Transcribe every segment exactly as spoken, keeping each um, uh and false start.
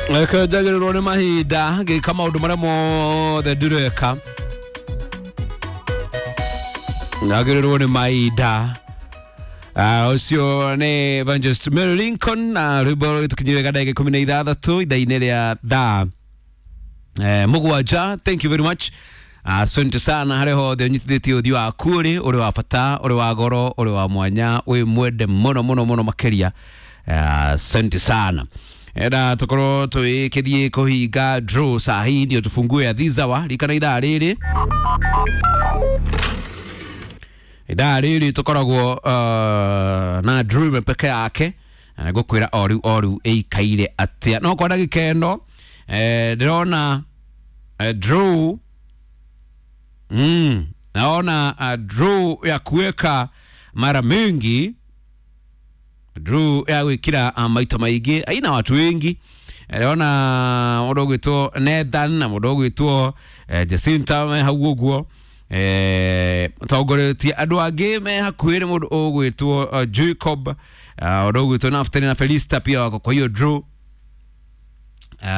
Reke njagĩrĩrwo nĩ mahinda ngĩka maũndũ marĩa mothe ndĩreka, njagĩrĩrwo nĩ mahinda. Ũcio nĩ Evangelist Mary Lincoln na rwĩmbo rũgĩtũkinyĩria ndagĩka ikũmi na ithathatũ ithaa-inĩ rĩa thaa eh, mũgwanja. Thank you very much, asante sana harĩa hothe ũnyitithĩtie ũthiũ waku ũrĩ ũrĩ wa bata, ũrĩ wa goro, ũrĩ wa mwanya, wĩ mwende mũno mũno mũno makĩria. Asante sana. Enda tukorwo twikithie kuhinga draw sahi ndio tufungue ya thizawa rikana ithaa rĩrĩ ithaa rĩrĩ tũkoragwo uh, na draw ĩmwe peke yake na ngũkwĩra o rĩu o rĩu ĩikaire atĩa. No kwa ndagĩka ĩno eh, ndĩrona eh, draw mm, naona uh, draw ya kuweka mara mingi, draw ya gwikira uh, maita maingi aina watu wengi. Ndĩrona mũndũ ũgwĩtwo Nathan na mũndũ ũgwĩtwo eh, Jacinta me hau ũguo eh, tongoretie andũ angĩ me hakuhĩ nĩ mũndũ ũgwĩtwo uh, Jacob, mũndũ uh, ũgwĩtwo Naftali na Felista pia wako kwa hiyo draw. Uh,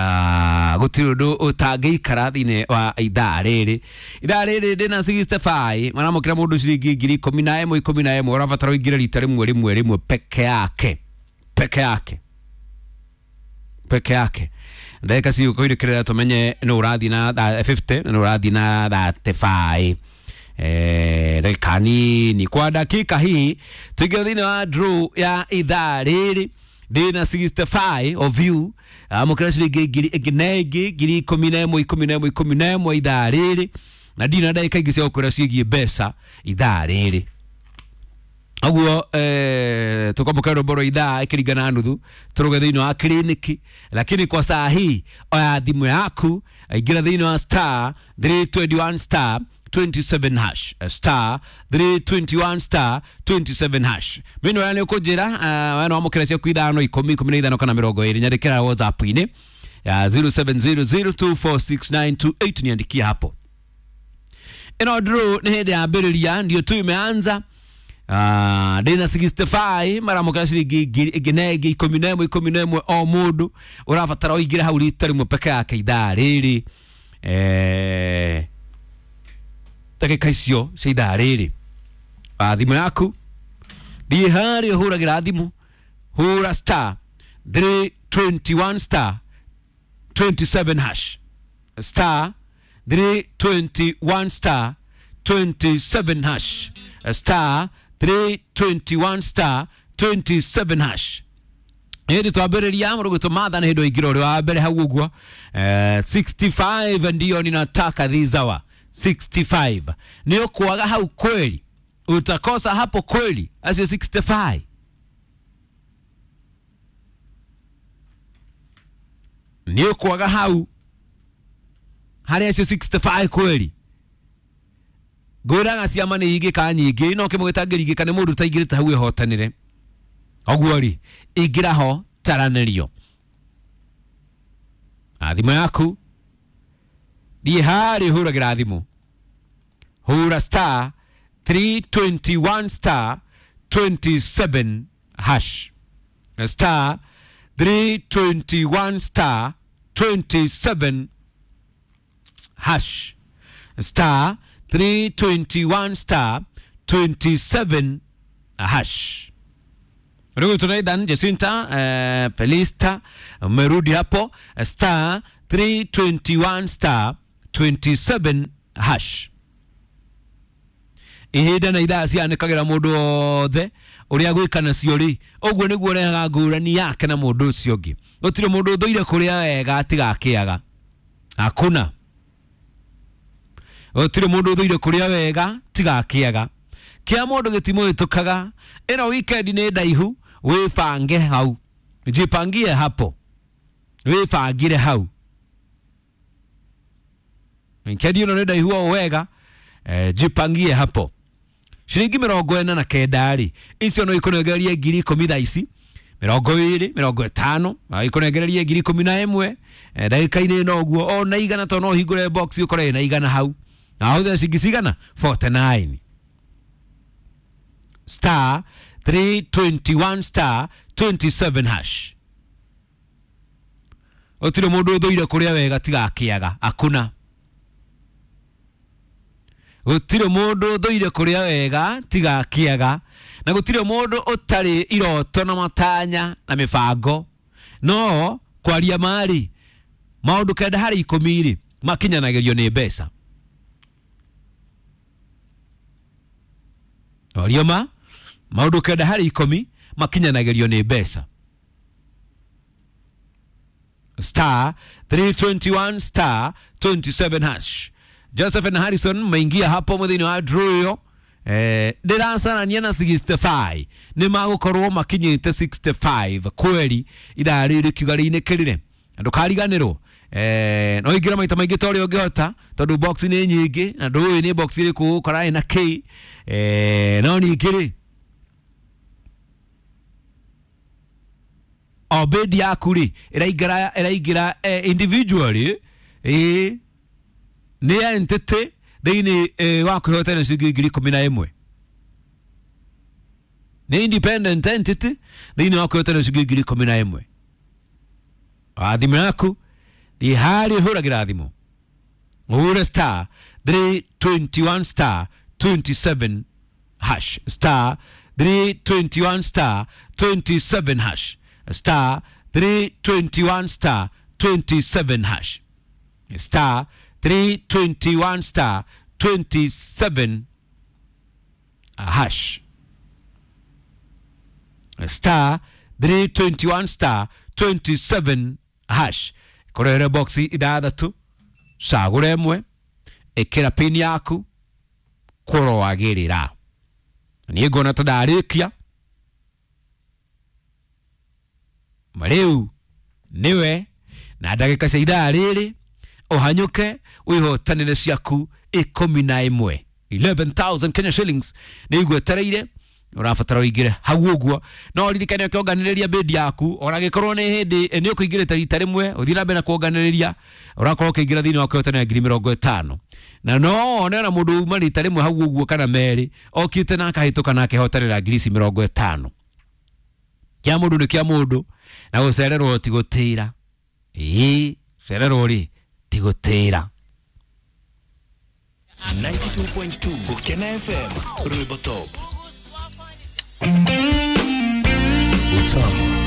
gũtirĩ ũndũ ũtangĩikara thĩinĩ wa ithaa rĩrĩ ithaa rĩrĩ ndĩna sixty-five maramũkĩra mũndũ ciringi ngiri ikũmi na ĩmwe ikũmi na ĩmwe ũrabatara ũingĩre rita rĩmwe rĩmwe rĩmwe peke yake peke yake peke yake. Ndagĩka cigũkũirĩkĩrĩra tũmenye nũ ũrathiĩ na fifty nũ ũrathiĩ na thirty-five. Eh, ndagĩka nini kwa dakika hii tuingĩre thĩinĩ wa draw ya ithaa rĩrĩ ndĩna sixty-five of you amũkĩra ciringi ngiri ĩngĩ na ĩngĩ ngiri ikũmi na ĩmwe ikũmi na ĩmwe ikũmi na ĩmwe ithaa rĩrĩ na ndina ndagĩka ingĩ cia gũkwĩra ciĩgiĩ mbeca ithaa rĩrĩ ũguo eh, tũkwamũkĩra rwĩmbo rwa ithaa ĩkĩringana nuthu tũrũge thĩinĩ wa kliniki, lakini kwa saa hii oya thimũ yaku ingĩra thĩinĩ wa star three twenty-one star twenty-seven hash star three twenty-one star twenty-seven hash. Mimi nĩ ũkũnjĩra we no wamũkĩra ciaku ithano ikũmi ikũmi na ithano kana mĩrongo ĩrĩ nyandĩkĩra WhatsApp-inĩ ya zero seven zero zero two four six nine two eight niandikie hapo. Ĩno draw nĩ hĩndĩ yambĩrĩria ndio tu imeanza. Ah, ndĩna sixty-five maramũkĩra ciringi ngiri ĩngĩ na ĩngĩ ikũmi na ĩmwe ikũmi na ĩmwe o mũndũ ũrabatara ũingĩre hau rita rĩmwe peke yake ithaa rĩrĩ eh ndagĩka icio cia ithaa rĩrĩ. Thimũ yaku thiĩ harĩa ũhũragĩra thimũ hũra star three twenty-one star twenty-seven hash star three twenty-one star twenty-seven hash star three twenty-one star twenty-seven hash. Hĩndĩ twambĩrĩria mũrũgũtũ Matha nĩ hĩndĩ ũingĩra ũrĩ wa mbere hau ũguo eh, sixty-five ndio ninataka this hour sixty-five nĩ ũkwaga hau kweli, utakosa hapo kweli acio sixty-five. Nĩ ũkwaga hau harĩa acio sixty-five kweli. Ngwĩraga ciama nĩ ingĩka nyingĩ no kĩmwe gĩtangĩringĩka nĩ mũndũ ũtaingĩrĩte hau ehotanĩre. Ũguo rĩ ingĩra ho taranĩrio thimũ yaku thiĩ harĩa ũhũragĩra thimũ hũra star three twenty-one star twenty-seven hash star three twenty-one star twenty-seven hash star three twenty-one star twenty-seven hash. Ndugu tunaithan Jacinta eh, Felista umerudi hapo star three twenty-one star twenty-seven hash. Ihinda na ithaa cianĩkagĩra mũndũ wothe ũrĩa gwĩka nacio rĩ ũguo nĩguo ũrehaga ngũrani yake na mũndũ ũcio ũngĩ. Gũtirĩ mũndũ ũthũire kũrĩa wega atigakĩaga, hakuna. Gũtirĩ mũndũ ũthũire kũrĩa wega tigakĩaga, kĩa mũndũ gĩtimũhĩtũkaga. Ĩno weekend nĩ ndaihu, wĩbange hau, jipangie hapo, wĩbangire hau. Weekend ĩno nĩ ndaihu o wega, eh, jipangie hapo. Ciringi mĩrongo ĩna na kenda rĩ icio no ikũnengererie ngiri ikũmi thaa ici, mĩrongo ĩrĩ mĩrongo ĩtano ikũnengererie ngiri ikũmi na ĩmwe ndagĩka-inĩ ĩno ũguo o na igana tondũ no ũhingũre box ũkore ĩna igana hau na ahũthĩre ciringi cigana forty-nine star three twenty-one star twenty-seven hash. Gũtirĩ mũndũ ũthũire kũrĩa wega tiga akĩaga. Hakuna. Gũtirĩ mũndũ ũthũire kũrĩa wega tiga akĩaga. Na gũtirĩ mũndũ ũtarĩ iroto na matanya na mĩbango. No kwaria mari maũndũ kenda harĩ ikũmi rĩ makinyanagĩrio nĩ mbeca. Orio ma maũndũ kenda harĩ ikũmi makinyanagĩrio nĩ mbeca. Star three twenty-one star twenty-seven hash. Joseph na Harrison maingia hapo muthini wa draw ĩyo. Eh, ndĩracarania na sixty-five nĩ magũkorwo makinyĩte sixty-five kweri ithaa rĩrĩ kiuga rĩinĩkĩrĩre. Na ndũkariganĩrwo eh, no ingĩra maita maingĩ ta ũrĩa ũngĩhota tondũ box nĩ nyingĩ na ndũĩ nĩ box ĩrĩkũ ũgũkora ĩna kĩ. Eh, no ningĩ rĩ o bid yaku rĩ ĩraingĩra ĩraingĩra eh, individually ĩ nĩ entity thĩinĩ eh, wa kwĩhotana ciringi ngiri ikũmi na ĩmwe. Nĩ independent entity thĩinĩ wa kwĩhotana ciringi ngiri ikũmi na ĩmwe. Wa thimũ yaku thiĩ harĩa ũhũragĩra thimũ ũhũre star three twenty-one star twenty-seven hash star three twenty-one star twenty-seven hash star three twenty-one star twenty-seven hash star three twenty-one star twenty-seven hash star three twenty-one star twenty-seven hash. Korere boxi ithathatũ cagũra ĩmwe ĩkĩra pin yaku kũroagĩrĩra. Niĩ nguona ta ndarĩkia rĩu nĩwe na ndagĩka cia ithaa rĩrĩ ũhanyũke wĩhotanĩre ciaku ikũmi na ĩmwe eleven thousand Kenya shillings nĩ igwetereire. Ũrabatara ũingĩre hau ũguo no ririkane ũkĩonganĩrĩria bid yaku ona gĩkorwo nĩ hĩndĩ nĩ ũkũingĩrĩte rita rĩmwe ũthiĩ na mbere na kuonganĩrĩria ũrakorwo ũkĩingĩra thĩinĩ wa kwĩhotanĩra ngiri mĩrongo ĩtano na no one ona mũndũ uma rita rĩmwe hau ũguo kana merĩ okĩte na akahĩtũka na akehotanĩra ngiri ici mĩrongo ĩtano. Kĩa mũndũ nĩ kĩa mũndũ na gũcererwo ti gũtĩra. Ĩĩ cererwo rĩ ti gũtĩra. ninety-two point two Gukena F M Rwimbo Top. Utamu